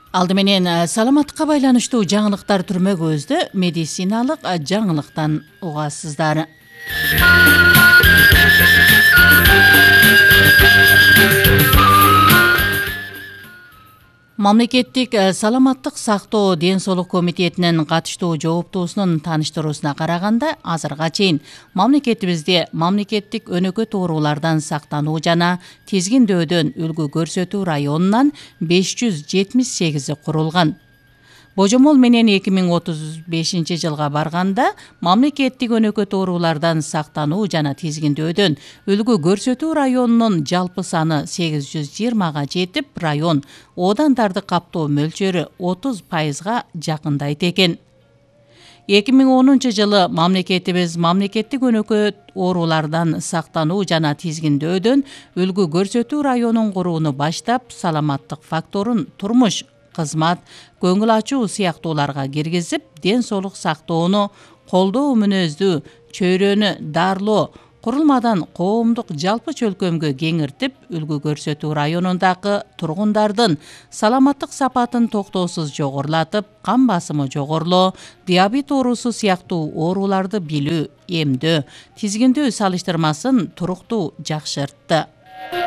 Алды менен саламаттыкка байланыштуу жаңылыктар түрмөгүбүздү медициналык жаңылыктан угасыздар. Мамлекеттик саламаттык сактоо ден соолук комитетинин катыштуу жооптуусунун тааныштыруусуна караганда, азырга чейин мамлекетибизде мамлекеттик өнөкөт оорулардан сактануу жана тизгиндөөдөн үлгү көрсөтүү районунан 578 курулган. Божомол менен 2035-жылга барганда мамлекеттик өнөкөт оорулардан сактануу жана тизгиндөөдөн үлгү көрсөтүү районунун жалпы саны 820га жетип, район оодандарды каптоо мөлчөрү 30%га жакындайт экен. 2010-жылы мамлекетибиз мамлекеттик өнөкөт оорулардан сактануу жана тизгиндөөдөн үлгү көрсөтүү районун курууну баштап, саламаттык факторун турмуш, кызмат, көңүл ачуу сыяктууларга киргизип, ден соолук сактоону колдоо мүнөздүү чөйрөнү дарылоо курулмадан коомдук жалпы чөлкөмгө кеңиртип, үлгү көрсөтүү районундагы тургундардын саламаттык сапатын токтоосуз жогорулатып, кан басымы жогорулоо, диабет оорусу сыяктуу ооруларды билүү, эмдөө, тизгиндөө салыштырмасын туруктуу жакшыртты.